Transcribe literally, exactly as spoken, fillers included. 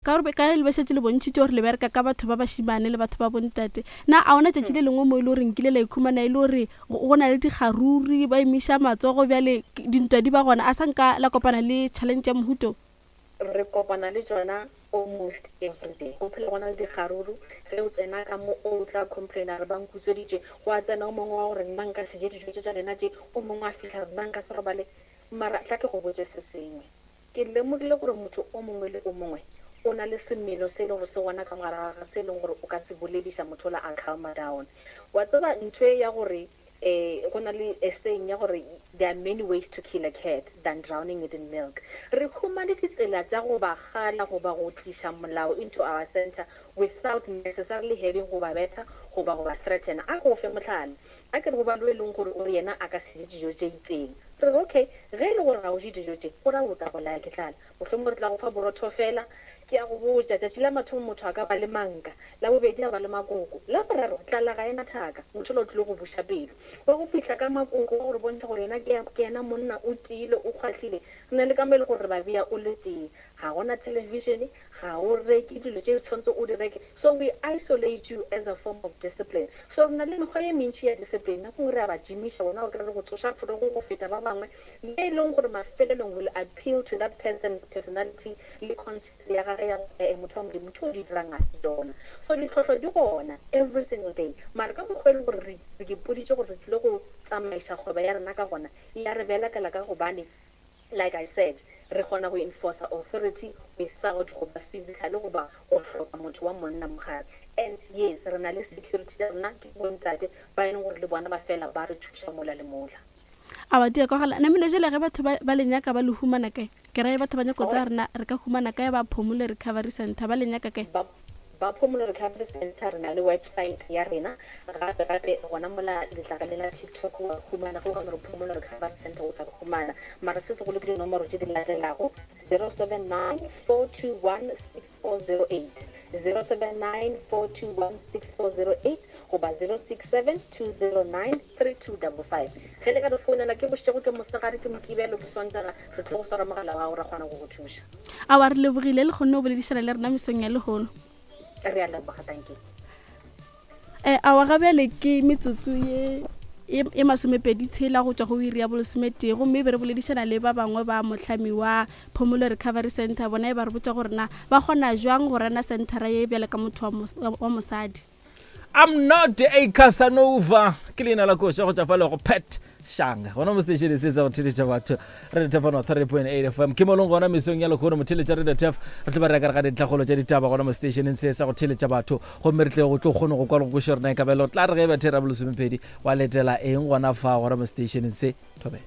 Ka gore ka le ba šetše le bontšhitše gore le bereka ka batho ba bašimane le batho ba bontate. Na a ona tšatši le lengwe mo e le gore nkile la ikhumana e le gore go na le dikgaruri, ba emiša matsogo, bjale dintwa di ba gona? A sa nka la kopana le challenge ya mohuto? Re kopana le tsona almost every day. Go phela gona le dikgaruru. Ge o tsena ka mo, o tla complaina re ba nkutsweditše, go a tsena o mongwe wa gore nna nka se je dijo tše tša lena tše, o mongwe a fihla re nna nka se robale. Mara tla ke go botse se sengwe, ke lemogile gore motho o mongwe le o mongwe o na le semelo se e leng gore se gona ka mogare ga gagwe, se e leng gore o ka se bolediša motho ola a calma down. Wa tseba ntho e ya gore um go na le a saying ya gore there are many ways to kill a cat than drowning it in milk. Re humane ditsela tša go ba gala goba go tliša molao into our center without necessarily having go ba betha goba go ba threaten. A go fe mohlala, a ke re go ba lo e leng gore o re yena a ka se je dijo tše itseng, re re okay, ge e le gore ga o je dijo tše, go ra o tla bolaya ke tlala, mohlomongwe re tla go fa borotho fela. Ke a go botša, tšatši la mathomo motho a ka ba le manka, la bobedi a ba le makoko, la boraro tlala ga ena thaka, motho ola o tlile go buša pelo wa go fihla ka makoko wa gore bontšha gore yena ke yena monna, o tiile, o kgwahlile. Re na le ka mo e le gore re ba bea o le tee, ga gona television, ga o reke dilo tše tshwanetse o di reke, so we isolate you as a form of discipline. So re na le mekgwa ye mentši ya discipline. Nako nngwe re a ba gymiša bona gore re go tsoša forogo go feta ba bangwe, le e leng gore mafelelong will appeal to that person's personality le conscience ya gage ya gore motho wa Modimo, ntho o di dirang a se tsona. So ditlhohlo di gona every single day, mara ka mokgwa e leng gore re ipoditše gore re tlile go tsamaiša kgwebo ya rena ka gona, e ya re belekela, ka gobane like I said, re kgona go enforce authority without go ba physically goba go hloka motho wa monna mogare. And yes, re na le security ya rena, ke bontate ba e leng gore le bona ba fela ba re thuša mola le mola. A ba tia kwagala. Namile jale ge batho ba le nyaka, ba le humana kae? Ke rae batho ba nyako tsa rena re ka humana kae ba Phomolo Recovery Center, ba le nyaka kae? Ba ba Phomolo Recovery Center, re na le website ya rena, gape gape gona mola letlakale la TikTok wa humana go gona re Phomolo Recovery Center, o tla re humana. Mara se segolo ke dinomoro tše di latelago: zero seven nine four two one six four zero eight, zero seven nine four two one six four zero eight goba zero six seven two zero nine three two double five. Ge le ka re founela, ke bošego, ke mosegare, ke Mokibelo, ke Sontaga, re tlo go swara mogala wa gago, ra kgona go go thuša. A wa re lebogile le kgonne go boledišana le rena mesong ya lehono. Re a leboga, thank you. um awa ga bjale ke metsotso ye e masomepedi tshela go tšwa go iri ya bolesometee, gomme be re boledišana le ba bangwe ba mohlami wa Phomolo Recovery Center. Bona e ba re botša gore na ba kgona jwang go rena centera ye bjale ka motho wa mosadi. I'm Not a Casanova ke leina la koša go tšwa fa le go Pat Shanga gona mo station se sa go theletša batho, Radio Tef one three point eight F M. Ke molong gona mesong ya lekgono motheletša Radio Tef, re tlo ba re ka ga dintlhakgolo tša ditaba gona mo stationeng se sa go theletša batho, gomme re tle go tlo kgone go kwa le go kweša rena e ka belo tla re ge e ba thera bolesomepedi wa letela eng gona fa gona mo stationeng se. Thobela.